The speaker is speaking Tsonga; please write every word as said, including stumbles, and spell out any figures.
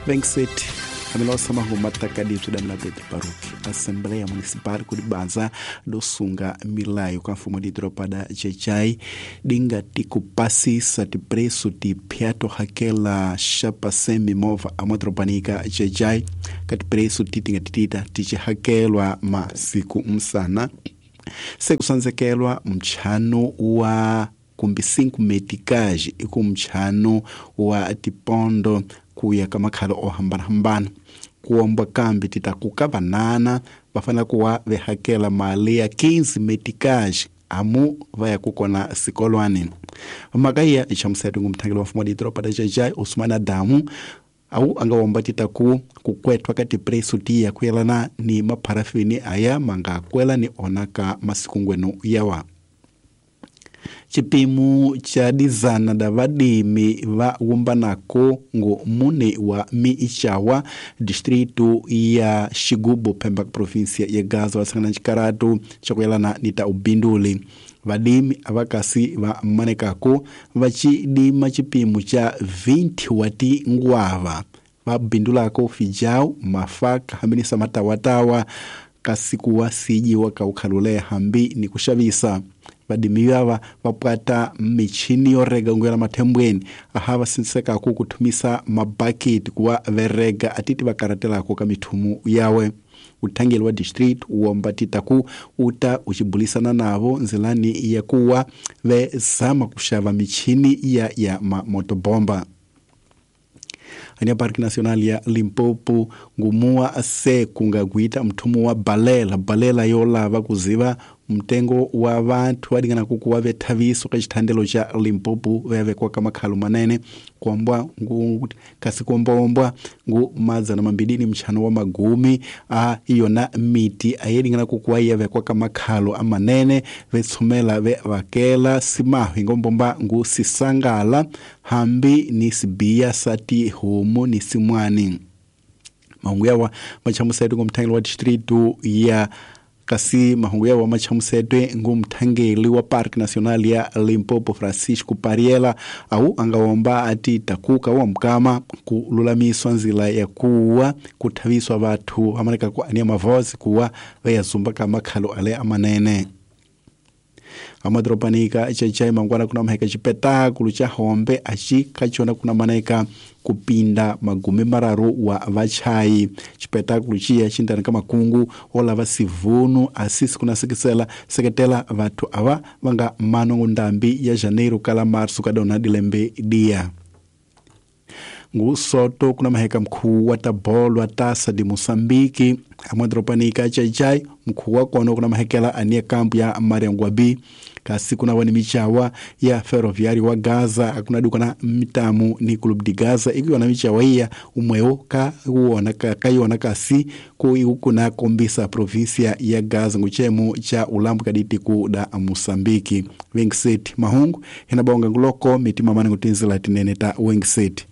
Vengset amilosa mahumatakadi bzidamila Pedro Baruch Assembleia Municipal kudibanza dosunga milayo ka mfumo didropa da Jejai dinga tikupasisa tipreço tipyato hakela xapa semi mova amodropanika Jejai kati preço titinga titita tichihakelwa masiku msana sekusanzekelwa mchano wa kumbi cinco meticage iku mchano wa tipondo kuya kamakhalo ohambana-hambana kuomba kambi titakuka vanana vafanele kuwa vehakela mali ya quinze meticage amu vaya kukona sikolwani makaya ichamusetu ngumthangeli wa mfumo wa didoropa da Jejai Usman Adamu au angawomba titaku kukwetwa kati preço tiya kuyelana ni mapharafini aya mangakwela ni onaka masikungwenu yawa. Chipimo cha dizana da vadimi va wumbanako ngo mune wa miichawa distrito ya Xigubu Pemba província ya Gaza vasangana chikaratu chakuyelana ni ta ubinduli. Vadimi avakasi va manekako vachidima chipimo cha vinte wati ngwava vabindulako fijau mafaka hambinisa matawatawa kasikuwa siji wakaukhalule hambi ni kushavisa. Vadimi vava vapwata michini yorega nguyela mathembweni aha vasinsekako kuthumisa mabaketi kuwa verega atiti vakaratelako ka mithumu yawe. Uthangeli wa district uomba titaku uta uchibulisana navo nzilani ya kuwa vezama kuxava michini ya ya mamotobomba. Ania Parque Nacional ya Limpopo ngumua se kungaguita mthumu wa balela balela yolava kuziva mtengo wa vanthu vadingana kukuwa vethaviso ka xithandelo xa Limpopo vevekwa ka makhalo manene kuombwa ngu kasi kuombaombwa ngu madzana mambili ni mchano wa magumi a iyona miti ayedingana kukuwa yevekwa ka makhalo amanene vetsumela ve vakela simahu ingombomba ngu sisangala hambi ni sibiya sati homo ni simwani. Mahungu yawa machamusetu ngumthangeli wa distrito ya kasi mahungu yawa machamusetwe ngumthangeli wa Parque Nacional ya Limpopo Francisco Pariela au angawomba ati takuka wa mkama kululamiswa nzila ya kuwa kuthaviswa vathu amaneka ku ania mavozi kuwa veyazumba ka makhalo ale amanene. Amadropanika chachai mangwana kuna maheka chipetakulu cha hombe achi kachona kuna maneka kupinda magumi mararu wa vachai chipetakulu chiya chindani ka makungu ola vasivunu asisi kuna sekisela seketela vathu ava vanga mano ndambi ya janeiro kala março kadona dilembe dia. Ngusoto kuna maheka mkuu wa tabolo wa tasa di Moçambique amwadropanika chachai mkuu wa kono kuna mahekela ania kampu ya Mariangwabi kasi kuna wani michawa ya ferroviário wa Gaza akuna duka na mitamu ni club de Gaza ikiwa na michawa iya umweo ka uona ka kaiona kasi ku ikuna kombisa província ya Gaza nguchemu cha ulambu kaditi ku da Moçambique. Wingset mahungu hinabonga nguloko mitima mane ngutinzila tinene ta Wingset.